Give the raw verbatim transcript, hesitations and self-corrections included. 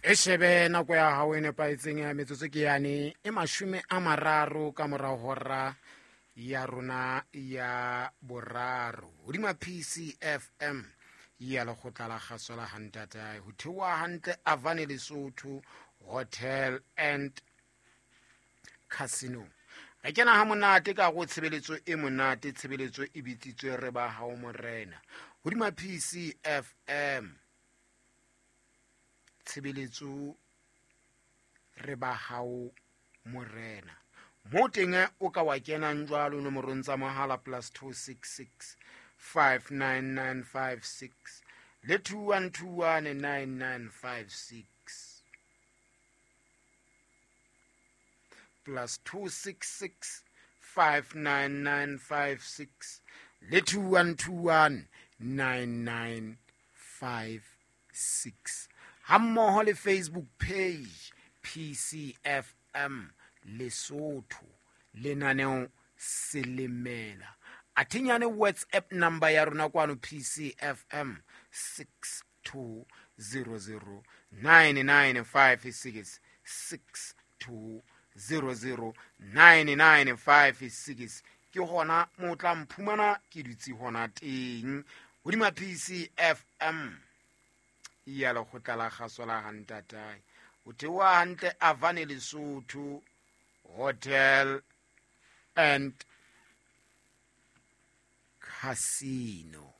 E shebe nako ya hao e nepahetseng ya metsotso ke yane e mashome a mararo ka mora hora ya rona ya boraro hodima P C F M ya lekgotla la kgaso la hantatae ho theoha hantle Avane Lesotho Hotel and Casino. Re kena ha monate ka go tshebeletso e monate, tshebeletso e bitsitswe Re ba Hao Morena hodima P C F M. Tshebeletso Re ba Hao Morena, mo teng o ka wa kenang jwalo nomorong tsa mohala plus two six six five nine nine five six le two one two one nine nine five six, plus two six six five nine nine five six le two one two one nine nine five six, hammoho le Facebook page P C F M Lesotho, lenaneo Selemela. Athinyane WhatsApp number ya rona kwano P C F M six two zero zero nine nine five six, six two zero zero nine nine five six. Ke hona mo tla mphumana ke dutse hona teng hodima P C F M ya lekgotla la kgaso la hantatae o theoha hantle Avane Lesotho Hotel and Casino.